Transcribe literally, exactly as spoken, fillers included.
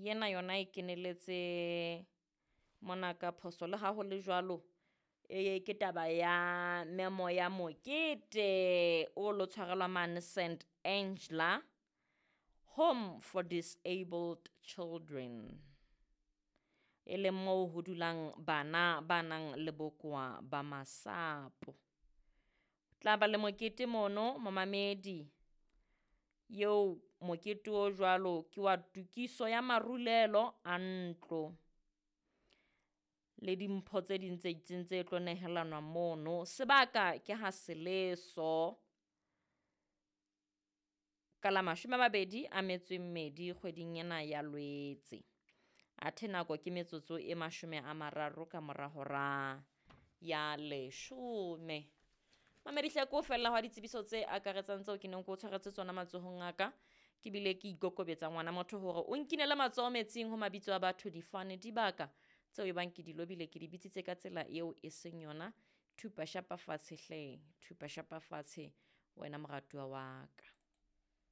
Yena yona e keneletse mona ka phoso. Le ha ho le jwalo, e ke taba ya memo ya mokete o lo tshwarelwa mane Saint Angela Home for Disabled Children, e leng moo ho dulang bana ba nang le bokowa ba masapo. Tla ba le mokete mono momamedi, eo mokete o jwalo ke wa tokiso ya marulelo a ntlo le dimpho tse ding tse itseng tse tlo nehelanwa mono. Sebaka ke ha Seleso ka la mashome a mabedi a metso e mmedi kgweding ena ya Lwetse. Athe nako ke metsotso e mashome a mararo ka mora hora ya leshome. Mamedi hle ke ho fella hwa ditsebiso tse akaretsang tseo ke neng ke o tshwaretse tsona matsohong a ka. Ke bile ke ikokobetsa ngwana motho hore o nkinele matsoho metsing ho mabitso a batho, difane, dibaka tseo e bang ke di lobile, ke di bitsitse ka tsela eo e seng yona. Thupa shapa fatshe hle, thupa shapa fatshe wena moratuwa wa ka.